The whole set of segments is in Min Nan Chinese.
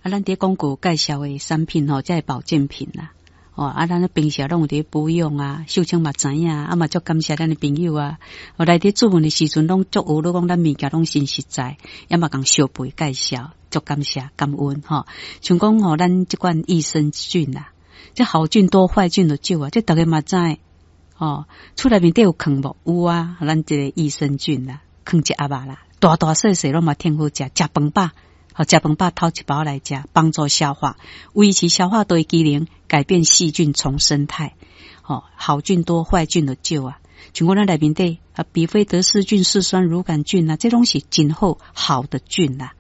啊，咱佇廣告介紹的產品吼，這個保健品啦。哦，啊，咱平時攏有佇保養啊，秀清嘛知影，啊嘛足感謝咱的朋友啊。哦，來佇注文的時陣，攏足學你講咱物件攏真實在，也嘛共相背介紹，足感謝感恩吼。像講吼，咱這款益生菌啊，這好菌多壞菌就少啊，這逐家嘛知。哦，厝內面底有囥無？有啊，咱這個益生菌啦，囥一盒仔啦，大大細細攏嘛挺好食，食飯飽。好，食飯飽偷一包來食，幫助消化，維持消化道的機能，改變細菌叢生態。吼，好菌多，壞菌就少啊。像講咱內面底啊，比菲德氏菌、嗜酸乳桿菌啊，這攏是真好好的菌啦。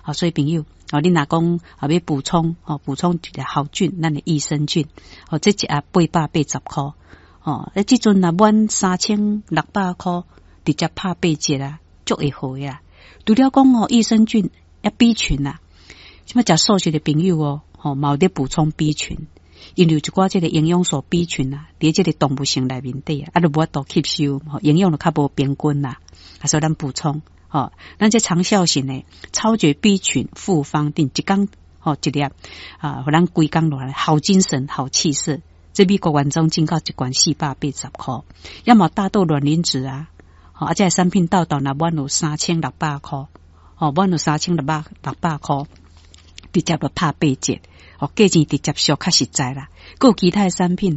好，所以朋友，哦，你若講啊欲補充，哦，補充一個好菌，咱的益生菌，哦，這一盒880箍，哦，啊，這陣若滿3600箍，直接拍八折啊，足會好呀。除了講哦，益生菌。啊，B 群啊，這擺食素食的朋友哦，吼，嘛有咧補充 B 群，因為有一寡這個營養素 B 群啊，佇這個動物性內面底啊，啊，就無法度吸收，吼，營養就較無平均啦，啊，所以咱補充，吼，咱這長效型的超絕 B 群複方錠，一工吼一粒啊，予咱規工落來好精神、好氣色。這美國原裝進口一罐480箍，抑嘛大豆卵磷脂啊，吼，啊，這個產品到到若滿有3600箍。哦，滿有3600箍，直接就拍八折，哦，價錢直接俗較實在啦。閣有其他的產品。